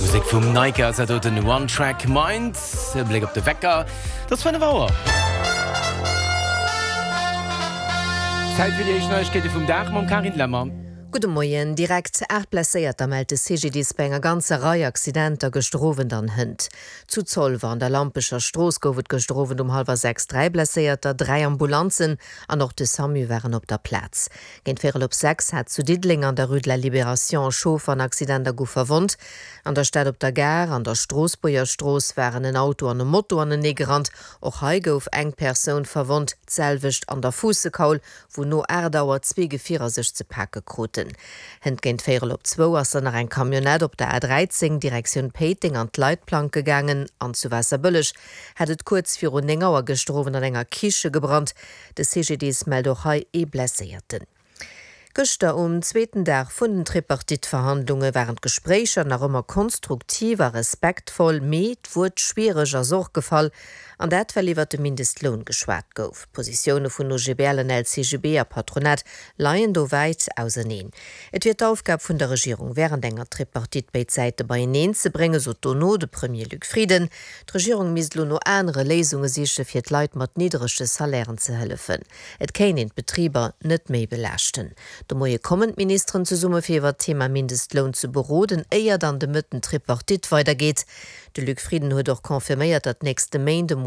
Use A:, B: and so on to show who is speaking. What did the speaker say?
A: Musek vum Naika ass dat doten, One Track Mind. E Bléck op de Wecker, et ass 5 Auer. Zäit fir déi éischt Neiegkeete vum Dag mam Carine Lemmer.
B: Gudde Moien. Direkt 8 Blesséierter mellt de CGDIS bei enger ganzer Rei Accidenter gëschter Owend an hënt. Zu Zolwer an der Lampecher Strooss gouf et gëschter Owend um hallwer 6 3 Blesséierter, 3 Ambulanzen an och de Samu waren op der Plaz. Géint véierel op 6 hat zu Diddeleng an der Rue de la Libération e Chauffer en Accident a gouf verwonnt. An der Stad op der Gare an der Stroossbuerger Strooss waren en Auto an e Moto anenee gerannt. Och hei gouf eng Persoun verwonnt. D'selwecht an der Fuussekaul, wou no 8 Auer zwee Gefierer sech ze pake kruten. Hënt géint véierel op zwou ass dann nach eng Camionnette op der A 13 Direktioun Péiteng an d'Leitplanke gaangen. An zu Waasserbëlleg hat et kuerz virun 9 Auer gëschter Owend an enger Kiche gebrannt. De CGDIS mellt och hei ee Blesséierten. Gëschter um zweeten Dag vun den Tripartite-Verhandlunge waren d'Gespréicher nach ëmmer konstruktiv a respektvoll, mee d'Wuert schwiereg ass och gefall. An dat well iwwert de Mindestloun geschwat gouf. D'Positioune vun OGBL an LCGB a Patronat leien do wäit auserneen. Et wier d'Aufgab vun der Regierung wärend enger Tripartite béid Säite beieneen ze bréngen, sot dono de Premier Luc Frieden. D'Regierung misst elo no anere Léisunge siche fir d'Leit mat nidderege Salairen ze hëllefen. Et kéint een d'Betriber net méi belaaschten. De Moie kommen d'Ministeren zesumme fir iwwer d'Thema Mindestloun ze beroden, éier dann de Mëtten d'Tripartite weidergeet. De Luc Frieden huet och confirméiert, datt nächste Méint emol.